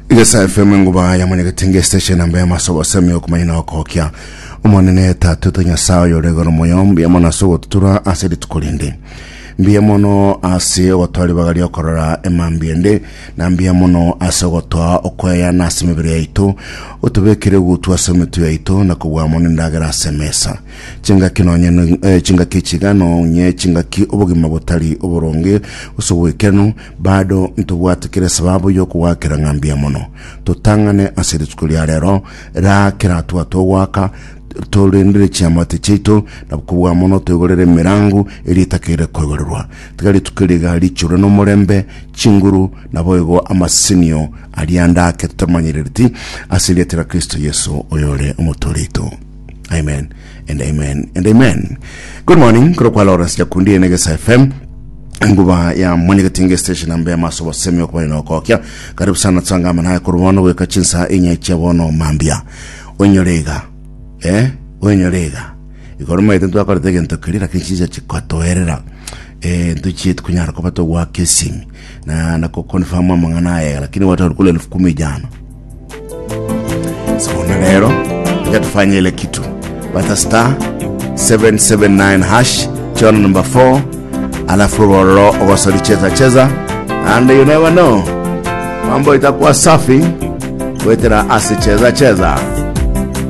Igesa FM enguba ya mwenyegetinga estation namba ya maso gosemi okumanya na okokia omonene tata oito nyasaye oyore igoro moyo mbuya mono ase ogotutura ase rituko rinde mbuya mono ase ogotoa ribaga riokorora emambia ende na mbuya mono ase ogotoa okoeyana ase emebere yaito otobekere egutwa ase emetwe yaito na kobua mono endagera ase emesa Chingaki nonye no- eh, chingaki echiga nonye chingaki obogima botari oboronge gose oboikeranu bado ntobwate kera esababu y'okogwakera ng'a mbuya mono. Totang'ane ase rituko ria rero, raa kera hatua togoaka, torendere chiamate chiaito, na kobua mono toigorere emerango eria etakeire koigorerwa. Tiga rituko eri iga richurwe nomorembe, chinguru, naboigo amasesenio aria ande ake totamanyerereti, ase erieta ria Kristo Yeso oyore Omotoori oito. Amen and amen and amen. Good morning, korokwa Lawrence Nyakundi ene Gesa FM. Nguba ya mwenyegetinge station ambe amaso bosemi okubani nokokia. Karibu sana tsangama naye korwa bono goika chinsa inye chia bono mambia. Oinyore iga. Eh? Oinyore iga. Igoro maete ntwakorete egento keria lakini chinsa chikatoerera. Eh, ntochieti konyara koba togwaka esimi na na koconfirm amang'ana aya lakini watu walikula elfu kumi jana. So na lero acha tufanye ile kitu bata star 779 hash chona number 4 alafu roro ogosori cheza cheza and you never know mambo itakuwa safi wetera ase cheza cheza.